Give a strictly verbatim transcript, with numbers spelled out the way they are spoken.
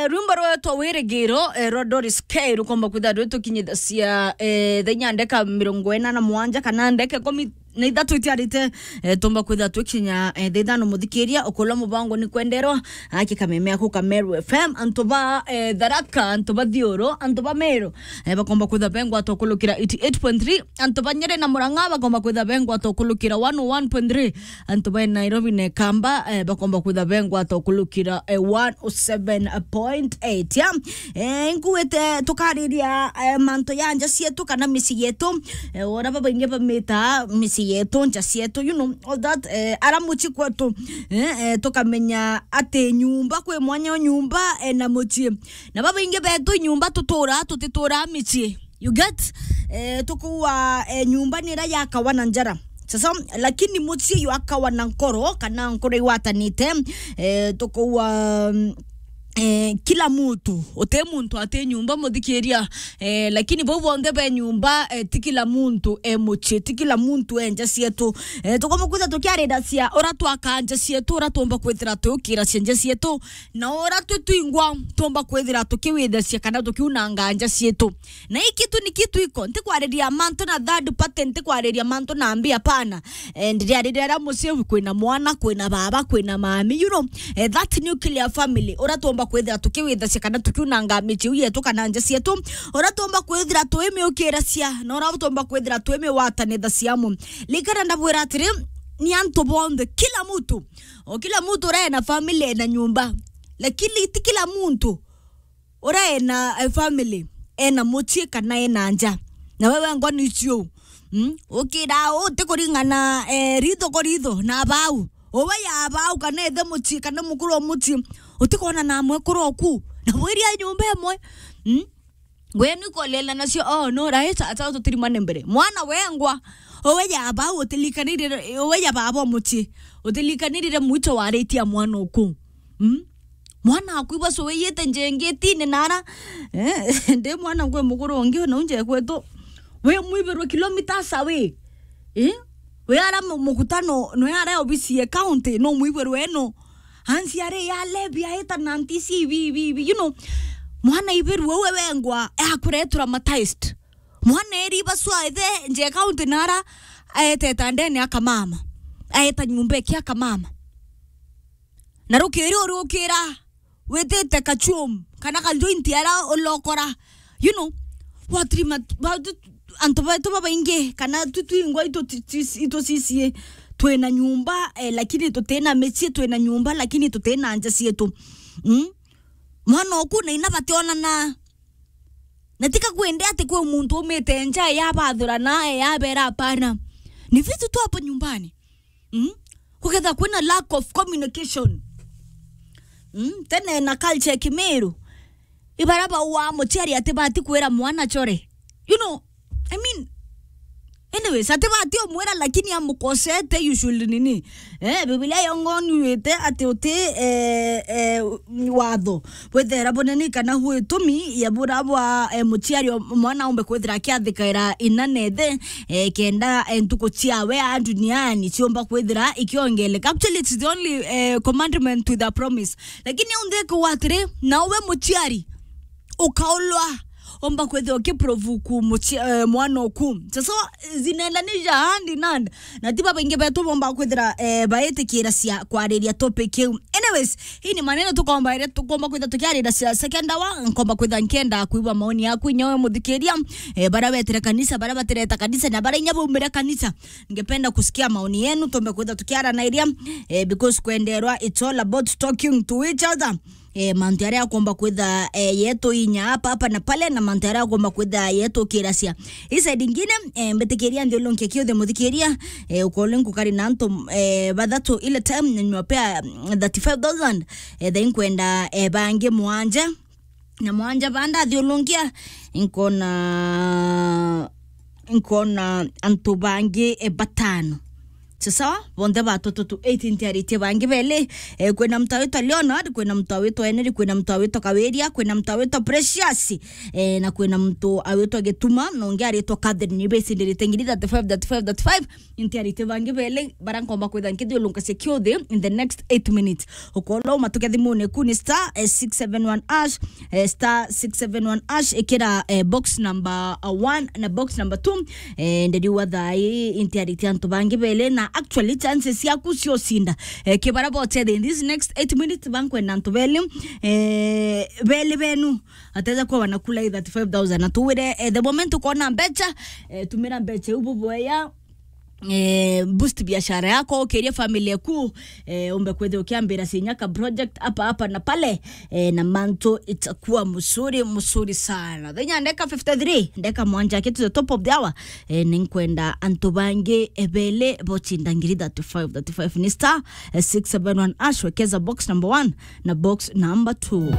Rwimbo rwetwa Wirigiro, eh, rwa Doris K rukomba kwitha rwitukinyithacia, eh, thaa inya ndeka mirongo ina na mwanja kana ndeka ikumi na ithatu itiarite, eh, tumba kwitha twikinya, eh, thaa ithano muthikiria, ukulwa mubango ni kwenderwa, aki kameme ako ka Meru F M, antu ba, eh, Tharaka, antu ba Thiuru, antu ba Meru, eh, bakomba kwitha bengwa tokulukira eighty eight point three, antu ba Nyeri na Murang'a bakomba kwitha bengwa tokulukira one oh one point three, antu ba Nairobi na Kamba, eh, bakomba kwitha bengwa tokulukira, eh, one oh seven point eight, ya. Eh, nkuwite tukariria, eh, mantu ya nja cietu kana micii yetu, eh, ora babaingi bamita micii yetu, nja cietu, you know, all that, eh, ara mucii kwetu, eh, eh, tukamenya ati nyumba kwi mwanya o nyumba, eh, na mucii. Na babaingi betu nyumba tutura, tutituraa micii. You get? Eh, tukuwa, eh, nyumba ni ira yakawa na njara. Sasa, lakini mucii yu akawa na nkoro, kana nkoro igwatanite, eh, tukuwa, mm, eh, kila muntu, uti muntu ati nyumba muthikiria, eh, lakini bau bonthe be nyumba, eh, ti kila muntu e mucii, ti kila muntu e nja cietu. Eh, tukomba kwitha tukiariracia ura twaka nja cietu, ura tumba kwithira tukiiracia nja cietu, na ura twi twingwa tumba kwithira tukiwithacia kana tukiunanga nja cietu. Na hii kitu ni kitu iko, ntikwariria mantu na third party, ntikwariria mantu na mbi, hapana. Eh, ndiriariria aria mucii kwina mwana, kwina baba, kwina mami, you know, eh, that nuclear family, ura tumba kwithira tukiwithacia kana tukiunanga micii yetu kana nja cietu, ura tumba kwithira twimiukiracia, na ura tumba kwithira twimiwatanithacia amwe. Likana ndabwira atiri, ni antu bonthe, kila muntu, o kila muntu ura ena family, ena nyumba, lakini ti kila muntu ura ena, eh, family, ena mucii kana ena nja. Na wewe ngoni cio. Mm? Ukira uti kuringana, eh, ritho kwa ritho na bau. Uwe ya bau kana ithe mucii kana mukuru o mucii. Utikona na mwekuru oku. Na bwiria nyumba imwe. Mm? Gwe ni kolela nacio, oh, no, right, ata tutirimane mbere. Mwana wengwa. Uwe ya bau utilikanirire, uwe ya baba o mucii. Utilikanirire mwito waritie mwana oku. Mm? Mwana aku ibasuiyite njengitine nara, eh, ndi mwana ngwe mukuru ungi na unje kwetu. We mwibirwe kilometers away. Eh? We ara mu-, mukutano, no ara obisi ya county, no mwibirwe eno. Ansi are ya lebi aita na ntisi bi, bi, bi, you know. Mwana ibirwe we wengwa, akure traumatized. Mwana eri ibasua ithe nje county nara, aeteta ndene akamama. Aeta nyumba iki akamama. Na rukiri urukira, witite kachum, kana ka joint ara ulokora. You know, watiri mat-, ba-, tu-, antu betu babaingi, kana tu twingwa itu ti-, ti-, itu cicie, twina nyumba, eh, lakini tutina micii, twina nyumba, lakini tutina nja cietu. Mm? Mwana oku na ina bationana. Na tika kwende ati kwi muntu umite nja ya bathurana, ya bera, hapana. Ni vitu tu hapo nyumbani. Mm? Kuketha kwina lack of communication. Mm? Tene na culture ya Kimiru. Ibara baua muciari ati bati kwira mwana chore. You know, I mean, anyways, ati bati umwira lakini amukosete, you should nini. Eh, Biblia yongoni wite ati uti, eh, eh, watho. Bwithera bunene kana bwitumi ya bura bwa, eh, muciari o mwana umbe kwithira akiathikaira ina na ithe, eh, kenda, eh, ntuku ciawe a duniani ciumba kwithira ikiongeleka. Actually, it's the only, eh, commandment with a promise. Lakini untheke watiri, na uwe muciari, ukaulwa, omba kwithira ukiprovoke muci-, eh, mwana oku. Sasa, zinaendanisha hand in hand. Na ti babaingi betu bomba kwithira, eh, baitikira cia kwariria topic iu. Anyways, hii ni maneno tukomba iria tukomba kwithira tukiarira cia second hour, nkomba kwithira nkenda kuigua maoni yaku inya we muthikiria, eh, baria wetire kanisa, baria batireta kanisa, na baria inya baumire kanisa. Ningependa kusikia maoni yenu, tumbe kwithira tukiarana iria, eh, because kwenderwa, it's all about talking to each other. Eh, mantu aria akomba kwitha, eh, yetu inya hapa, hapa na pale, na mantu aria akomba kwitha yetu kiracia. Hii side ingine, eh, mbitikiria nthiulunkia kiuthe muthikiria, eh, ukole nkukari na antu, eh, bathatu ile time, nywa pea, mm, thirty-five thousand, eh, thaa inkwenda, eh, bangi mwanja. Na mwanja banda thiulunkia, nkona, nkona antu bangi, eh, batano. Sawa, bonthe batu two two eight ntiaritie bangi beli. Eh, kwina mtu awitwa Leonard, kwina mtu awitwa Henry, kwina mtu awitwa Kawiria, kwina mtu awitwa Precious, eh, na kwina mtu awitwa Gituma, na ungi aritwa Catherine. Ni besindirite ngiri thirty-five, thirty-five, thirty-five. Ntiaritie bangi beli, bara nkomba kwitha nkithiulunkacia kiuthi in the next eight minutes. Ukorwo uma tuke thimune ku ni star, eh, six seven one hash, eh, star six seven one hash, ikira, eh, box number, uh, one na box number two. Eh, ndiriwa thaa ii intiaritie antu bangi beli, na actually chances ciaku cia ucinda, eh, kibara bote in this next eight minutes, bankwenda antu beli, eh, beli benu ateza kuwa wanakula i thirty-five thousand. Na tuwire, eh, the moment ukona mbecha, eh, tumira mbecha iu bubwea, eh, boost biashara yako, ukiria family yaku, eh, umbe kwithia ukiambira cinya ka project hapa, hapa na pale, eh, na mantu itakuwa mzuri, mzuri sana. Thenya ndeka fifty-three, ndeka mwanja kitu the top of the hour, eh, ninkwenda antu bangi ebele bochinda ngiri thirty-five, thirty-five ni star, eh, six seven one hash, wekeza box number one na box number two.